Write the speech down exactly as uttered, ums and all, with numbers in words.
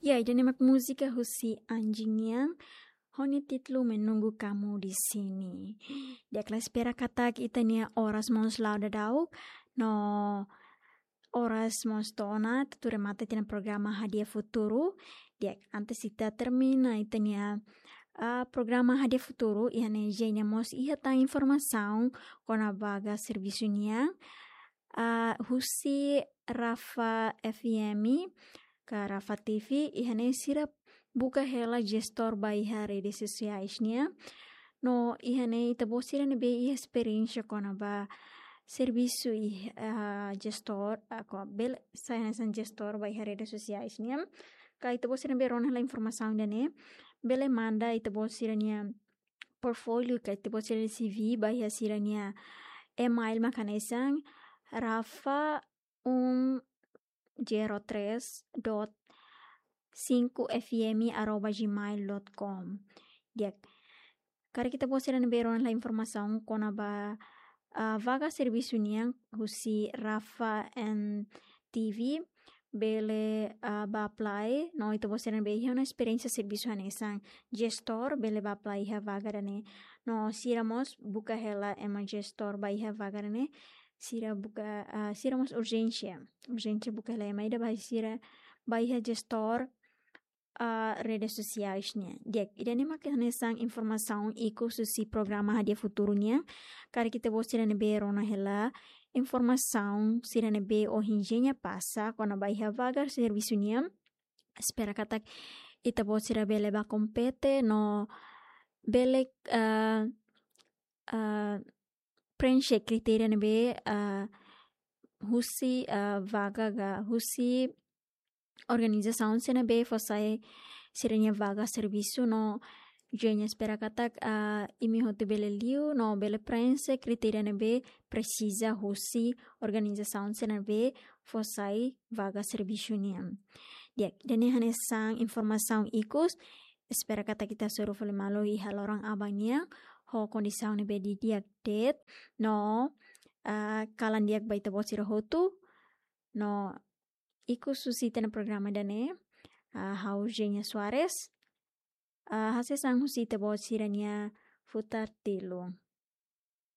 Ya, ida-ne'e mak múzika husi Anjing nian, ho nia títulu Menunggu Kamu di Sini. Di'ak, la espera katak ita-nia oras mós la'o daudaun, no oras mós to'o ona, atu remata ita-nia programa Hadi'a Futuru. Di'ak, antes ita termina ita-nia, ah, programa Hadi'a Futuru, iha ne'e Jenia mós iha tan informasaun kona-ba vaga servisu nian, ah, husi Rafa F M ka Rafa T V, iha ne'e sira buka hela jestór ba iha redes sosiais nian. No iha ne'e ita-boot sira ne'ebé iha esperiénsia kona-ba servisu iha, ah, jestór, ah, ko bele sai hanesan jestór ba iha redes sosiais nian. Ka ita-boot sira ne'ebé rona hela informasaun ida-ne'e, bele manda ita-boot sira-nia portfólio ka ita-boot sira-nia C V ba iha sira-nia email mak hanesan rafa um zero três dot cinco F M arroba gmail dot com. Di'ak, karik ita-boot sira ne'ebé rona hela informasaun kona-ba, ah, vaga servisu nian husi Rafa N T V, bele, ah, bá apply, no ita-boot sira ne'ebé iha ona esperiénsia servisu hanesan jestór, bele bá apply iha vaga ida-ne'e. No sira mós buka hela ema jestór ba iha vaga ida-ne'e, sira buka, ah, sira mós urjénsia. Urjénsia buka hela ema ida ba sira, ba iha jestór, ah, redes sosiais nian. Di'ak, ida-ne'e mak hanesan informasaun ikus husi programa Hadi'a Futuru nian. Karik ita-boot sira ne'ebé rona hela informasaun sira ne'ebé ohin Jenia pasa kona-ba iha vaga servisu nian, espera katak ita-boot sira bele bá kompete no bele, ah, ah, preenxe kritéria ne'ebé, ah, husi, ah, vaga ka husi organizasaun sira ne'ebé fó sai sira-nia vaga servisu. No Jenia espera katak, ah, imi hotu bele liu no bele preenxe kritéria ne'ebé presiza husi organizasaun sira ne'ebé fó sai vaga servisu nian. Di'ak, ida-ne'e hanesan informasaun ikus, espera katak ita hasoru fali malu iha loron aban nian ho kondisaun ne'ebé didi'ak de'it. No, ah, kalan di'ak ba ita-boot sira hotu. No ikus husi ita-nia programa ida-ne'e, ah, ha'u Jenia Soares, ah, hasees an husi ita-boot sira-nia Futar Tilun.